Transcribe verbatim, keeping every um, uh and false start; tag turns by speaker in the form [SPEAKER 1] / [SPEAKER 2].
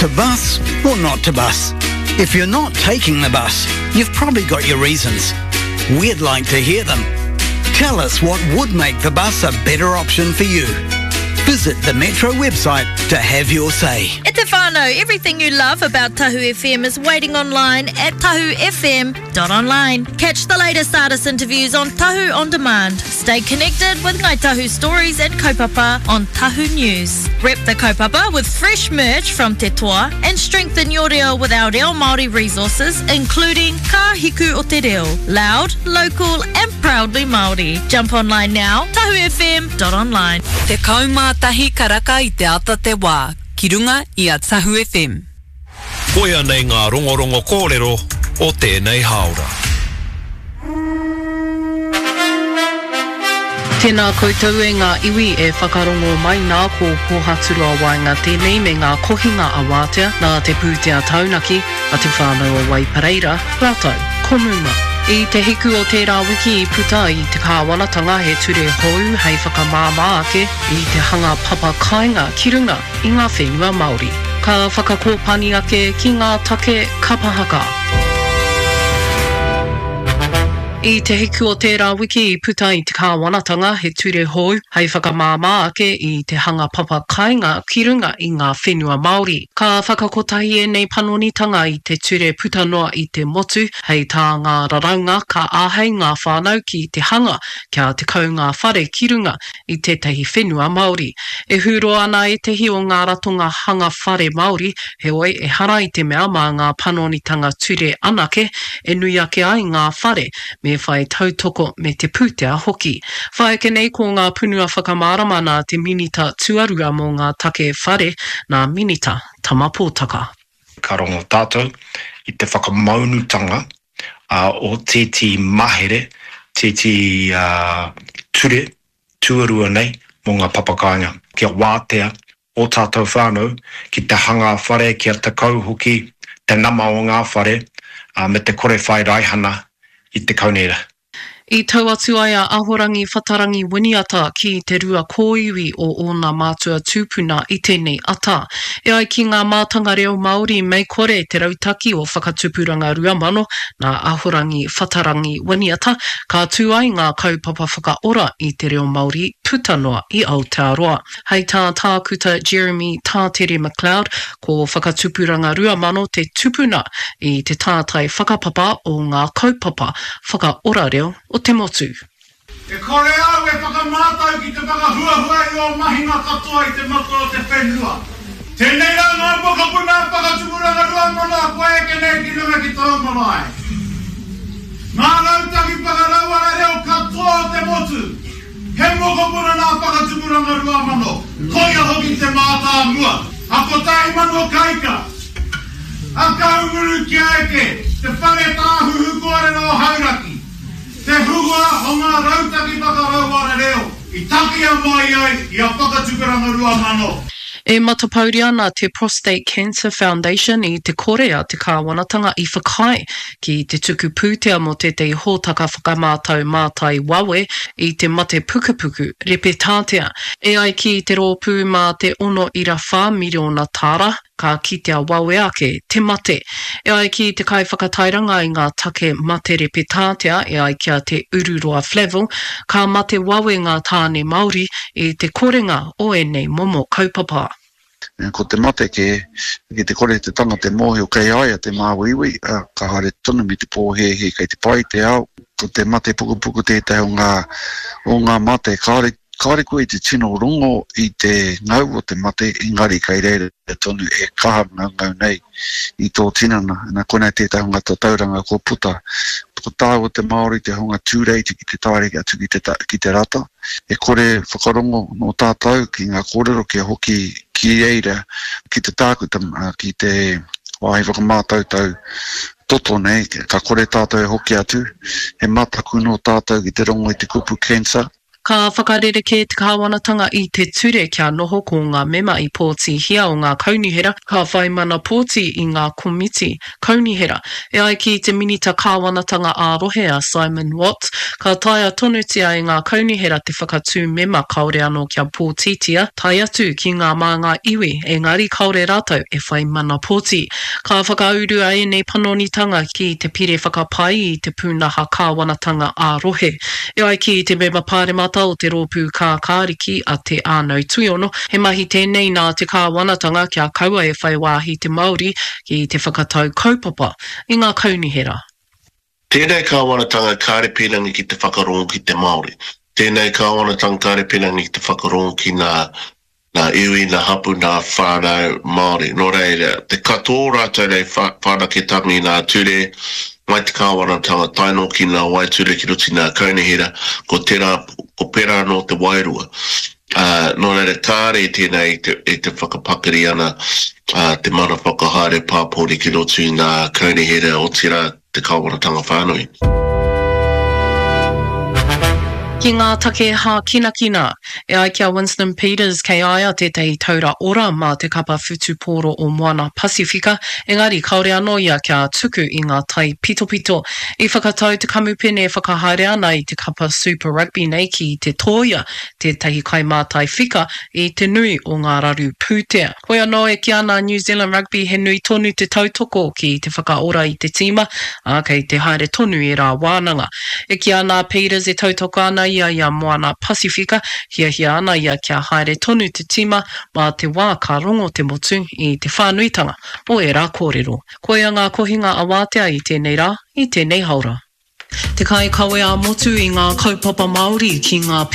[SPEAKER 1] To bus or not to bus? If you're not taking the bus, you've probably got your reasons. We'd like to hear them. Tell us what would make the bus a better option for you. Visit the Metro website to have your say.
[SPEAKER 2] E te whānau, everything you love about Tahu F M is waiting online at tahu F M dot online. Catch the latest artist interviews on Tahu On Demand. Stay connected with Ngai Tahu stories and kaupapa on Tahu News. Rep the kaupapa with fresh merch from Te Toa and strengthen your reo with our reo Māori resources, including Ka Hiku o Te Reo. Loud, local and proudly Māori. Jump online now, tahu F M dot online.
[SPEAKER 3] Tekau mā tahi karaka i te ata te wā, ki runga i a Tahu F M.
[SPEAKER 4] Koia nei ngā rongorongo kōrero o tēnei hāora.
[SPEAKER 5] Tēnā koutou e ngā iwi e whakarongo mai nā, ko Pōhaturoa Waenga tēnei me ngā kohinga a Wātea nā te pūtea taunaki a Te Whānau o Waipareira rātou ko Muma. I te hiku o tērā wiki i puta i te kāwanatanga he ture hou hei whakamāmā ake i te hanga papa kāinga ki runga i ngā whenua Māori. Ka whakakōpani ake ki ngā take kapa haka. I te hiku o tērā wiki i puta i te kāwanatanga he ture hou hei whakamāmā ake i te hanga papa kāinga ki runga i ngā whenua Māori. Ka whakakotahi ēnei panonitanga i te ture puta noa i te motu, hei tā ngā raraunga ka āhei ngā whānau ki te hanga kia tekau ngā whare ki runga i tētahi whenua Māori. E hūroa ana ētehi o ngā ratonga hanga whare Māori, heoi ehara i te mea mā ngā panonitanga ture anake e nui ake ai ngā whare, me whai tautoko me te pūtea hoki. Whai ake nei ko ngā punua whakamārama nā te Minita Tuarua mō ngā take whare, nā Minita Tama Potaka.
[SPEAKER 6] Ka rongo tātou i te whakamaunutanga o tētehi mahere, tētehi ture tuarua nei mō ngā papakāinga, kia wātea o tātou whānau ki te hanga whare kia tekau hoki te nama o ngā whare me te kore whai raihana i te kaunihera.
[SPEAKER 5] I tau atu ai a Ahorangi Whatarangi Winiata ki te rua kōiwi o ōna mātua tūpuna i tēnei ata. E ai ki ngā mātanga reo Māori mei kore te rautaki o Whakatupuranga Rua Mano nā Ahorangi Whatarangi Winiata, ka tū ai ngā kaupapa whakaora i te reo Māori puta noa i Aotearoa. Hei tā Tākuta Jeremy Tātere MacLeod, ko Whakatupuranga Rua Mano te tupuna i te tātai whakapapa o ngā kaupapa whakaora reo o te motu.
[SPEAKER 7] E kore au e whakamātau ki te whakahuahua i ō mahinga katoa i te mata o te whenua. Tēnei rā ngā mokopuna Whakatupuranga Rua Mano kua eke nei ki runga ki tōu marae. Ngā rautaki whakarauora reo katoa o te motu, he mokopuna nā Whakatupuranga Rua Mano, koia hoki te mātāmua, a Kotahi Mano Kaika, a Kahungunu kia eke, te whare tāhuhu kōrero o Hauraki, te huhua o ngā rautaki whakarauora reo i takia mai ai i a Whakatupuranga Rua Mano.
[SPEAKER 5] E matapauria ana te Prostate Cancer Foundation i te kore a te kāwanatanga i whakaae ki te tuku pūtea mō tētahi hōtaka whakamātau mātai wawe i te mate pukupuku repetātea. E ai ki te rōpū mā te ono ira whā miriona tāra, ka kitea wawe ake te mate. E ai ki te kaiwhakatairanga i ngā take mate repetātea e ai ki a Te Ururoa Flavell, ka mate wawe ngā tāne Māori i te korenga o ēnei momo kaupapa.
[SPEAKER 8] Ko te mate kē, ki te kore te tangata e mōhio kei a ia te māuiui, ka haere tonu me te pōhēhē kei te pai te ao. Ko te mate pukupuku tētahi o ngā, o ngā mate kāore, kāore koe i te tino rongo i te ngau o te mate, engari kei reira tonu e kaha ngaungau nei i tō tinana. Nā konei tētahi o ngā tatauranga kua puta. Ko tāua te Māori te hunga tūreiti ki te taere atu ki te, ki te rata. E kore whakarongo nō tātou ki ngā kōrero kia hoki ki reira, ki te tākuta, ki te wāhi whakamātautau toto nei, ka kore tātou e hoki atu. He mataku nō tātou ki te rongo i te kupu cancer.
[SPEAKER 5] Ka whakarerekē te kāwanatanga i te ture kia noho ko ngā mema i pōtihia o ngā kaunihera ka whai mana pōti i ngā komiti kaunihera. E ai ki te Minita Kāwanatanga ā-Rohe a Simon Watts, ka taea tonutia e ngā kaunihera te whakatū mema kāore anō kia pōtitia, tae atu ki ngā māngai iwi, engari kāore rātou e whai mana pōti. Ka whakaurua ēnei panonitanga ki te Pire Whakapai i te Pūnaha Kāwanatanga ā-Rohe. E ai ki te Mema Pāremata o te Rōpū Kākāriki a Te Ānau Tuiono, he mahi tēnei nā te kāwanatanga kia kaua e whai wāhi te Māori ki te whakatau kaupapa i ngā kaunihera.
[SPEAKER 9] Tēnei kāwanatanga kāre pīrangi ki te whakarongo ki te Māori. Tēnei kāwanatanga kāre pīrangi ki te whakarongo ki ngā nā iwi, nā hapu, nā whānau Māori. Nō reira, te katoa o rātou nei whanaketanga i ngā ture, mai te kāwanatanga tae noa ki ngā waeture ki roto i ngā kaunihera, ko tērā, ko pērā anō te wairua. Ā, nō reira, kāre tēnei i te, i te whakapakari ana te mana whakahaere pāpori ki roto i ngā kaunihera, otirā te kāwanatanga whānui.
[SPEAKER 5] Ki ngā take hākinakina, e ai ki a Winston Peters kei a ia tētahi taura ora mā te kapa whutupōro o Moana Pasifika, engari kāore anō ia kia tuku i ngā taipitopito. I whakatau te kamupene e whakahaere ana i te kapa Super Rugby nei ki te tōia tētahi kaimātai whika i te nui o ngā raru pūtea. Hoi anō e kī ana a New Zealand Rugby he nui tonu te tautoko ki te whakaora i te tīma, ā, kei te haere tonu ērā wānanga. E kī ana a Peters e tautoko ana ia i a Moana Pasifika, hiahia ana ia kia haere tonu te tīma mā te wā ka rongo te motu i te whānuitanga o ērā kōrero. Koia ngā kohinga a Wātea i tēnei rā, i tēnei haora. Te kaikawe ā-motu i ngā kaupapa Māori ki ngā